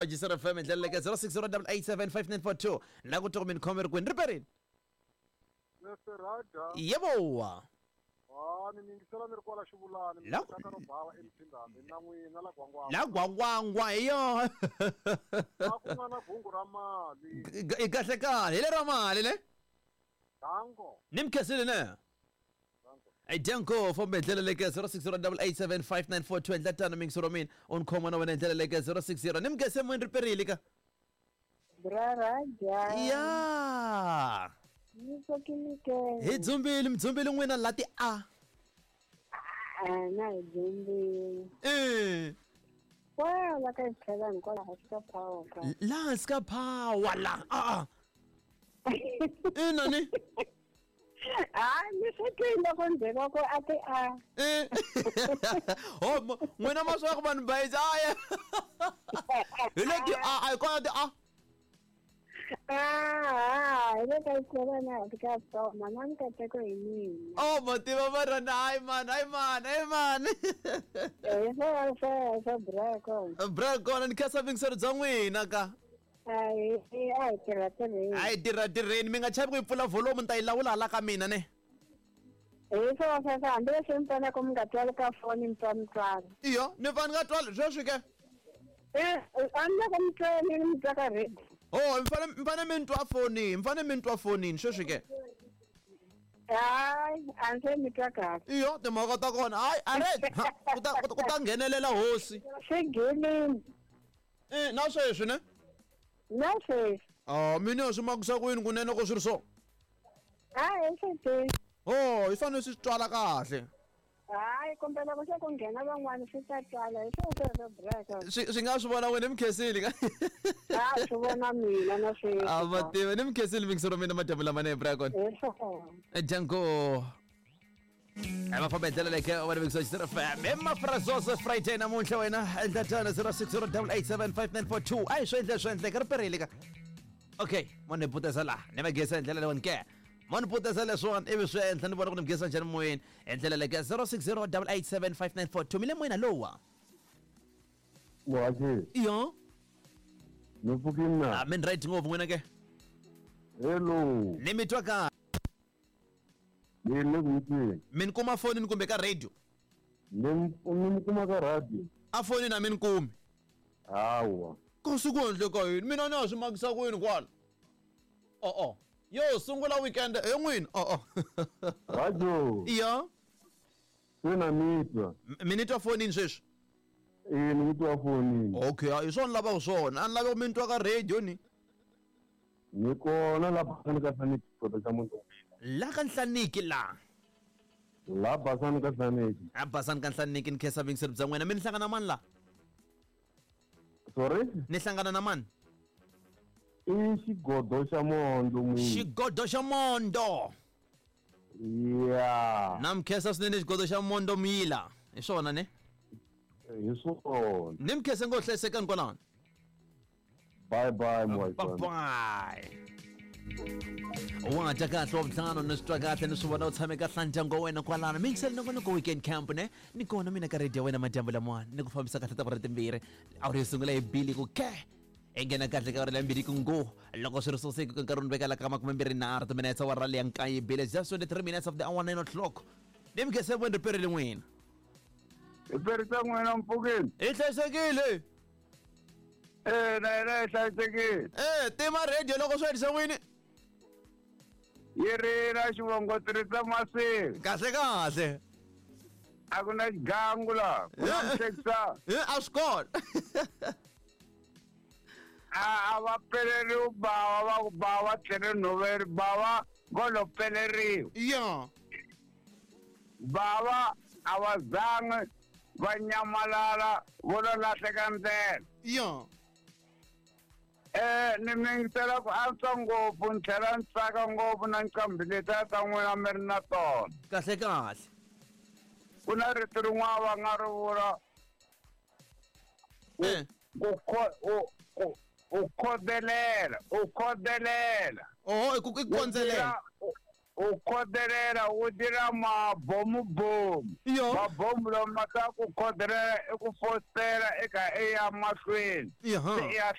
Jisara FM hi ndlela leke 0608875942 la ku twa ku mi ni khome ri kwini ri perini. Mr. Raja, Yebowa. ha ni yingisela ni ri kwala xivulani La- mi ro bava emphindhambi na n'wina la gwangwangwa La gwangwangwa hi yo. a ku nga na gungu ra mali I kahle kahle hi lera mali le. dango Ni mi khensile ne. dango Danko fombe hi ndlela leke 0608875942 endla tano mingisoro mina u ni khoma na wena hi ndlela leke 060 ni mi khense moyeni ri perile ka. Bra Raja. Ya. Ni tsakile ke. Hi dzumbile mi dzumbile n'wina la ti a. Ah, na hi dzumbile. Eh. Kwala ka xitlhelani kwala hansi ka power ka. La hansi ka power la. A a. Ina ni. Ah, ni swi twile ku ndzheko ku a ti a. Eh. Oh, n'wina ma swa ku vanhu bayiza aya. Hi le ti a a hi kona ti a. Ah, hi le ka xitlhelani hansi ka power mana mikateko hi mina. Oh, ma tiva va rana hayi man, hayi man, hayi man. Hi swona sweswo bra kona. Bra kona ni khensa vingiselo bya n'wina ka. A hi a hi tirha tirheni. A hi tirha tirheni mi nga chavi ku yi pfula volume ni ta yi lawula hala ka mina ne. Hi swona sweswo hambileswi mi faneleke mi nga twali ka foni mi twa mi twala. Iyo, ni fane ni nga twali sweswi ke. Eh, a ni loko mi twa mi twa ka radio. Oh, mi fane mi ni twa fonini, mi fane mi ni twa fonini sweswi ke. Hayi, a ndzi se mi twa kahle. Iyo, timhaka ta kona. Hayi, a re ha, ku ta nghenelela hosi. Swi gilini Eh, na sweswi ne? na sweswi. Ah, mina swi makisa ku yini kunene ko swi ri so. A hi swi tivi. Oh, hi fanele swi twala kahle. Hayi, kumbe loko se ku nghena van'wana swi ta twala hi swona sweswo breka. Swi nga swi vona wena mi khensile ka. A swi vona mina na sweswi. A va tiva ni mi khensile mingiselo mina madyambu lamanene bra kona. Hi swona. Django. Va famba hi ndlela leke wena vikisa xisira FM. Emafrazoso Friday namuntlha wena endla tano 0608875942. Ayi swi endle swi endleka ri perile ka. Okay, mo ni putesa laha ni va gesa hi ndlela leyiwani ke. Mo ni putesa leswiwani ivi swi endla ni vona ku ni mi gesa njhani moyeni hi ndlela leke 0608875942 mi le moyeni lowa. Muhaxi, Iyo. ni pfukile na. Ah, mi ni right ngopfu n'wina ke. Hello, Ni mi twa kahle. ni le ku yitweni. Mi ni kuma fonini kumbe ka radio. Ni mi kuma ka radio. A fonini a mi ni kumi. Hawa. Kasi ku endleka yini mina ni ha swi makisa ku yini kwala o-o yo sungula weekend he n'wini o-o Radio, iya se na mi twa. Mi ni twa fonini sweswi Eh, ni mi twa fonini. okay hi swona ni lavaka swona a ni lavi ku mi ni twa ka radio ni Ni kona la basani ka Hlaniki xikota xa muti wa mina. la ka nhlaniki la La basani ka Hlaniki. a basani ka nhlaniki ni khensa vingiselo bya n'wina mi ni hlangana mani la Sorry? ni hlangana na mani I xigodo xa mondo n'wini. xigodo xa mondo Ya. na mi khensa swinene xigodo xa mondo muyila hi swona ne Hi swona. ni mi khense ngo hlayisekani kwalano Bye bye muhaxi. Bye bye. Wa dya kahle wa vutlhanu ni swi twa kahle ni swi vona u tshame kahle na ndyangu wa wena kwalano mi yingiseli nongonoko weekend camp ne ni kona mina ka radio ya wena madyambu lamawani ni ku fambisa kahle ta timbirhi awuri yo sungula hi bili ku ke hi nghena kahle ka awuri ya mbirhi ku ngo loko swi ri soseki ku nkarhi wu ni vekela ka 23 timinetse awara leya nkaye bile just 23 minutes of the hour 9 o'clock ni mi khese voni ri perile n'wina Hi perisa n'wina mpfukeni hi hlayisekile eh na yena yi hlayisekile e tima radio loko swi hetisa n'wini yi ri na xivongo tirhisa masivi kahle kahle a ku na xigangu laha ku na muhlekisana Eh, a swi kona a va peleriwi bawa va ku bawa tlhele nhoveri bawa ngo lo peleriwa ya bava a va zangi va nyamalala vo lo lahleka ndlela ya eh ni mi yingisela ku antswa ngopfu ni tlhela ni tsaka ngopfu na nqambi letiya ta n'wina mi ri na tona kahle kahle ku na rito rin'wana va nga ri vula Eh. ku ku u khodelela u khodelela oho i ku i kondzelela U khodelela u dira mabomubomu Yo. mabomu lama ka ku khodelela i ku fositela eka i ya mahlweni Yaha. se i ya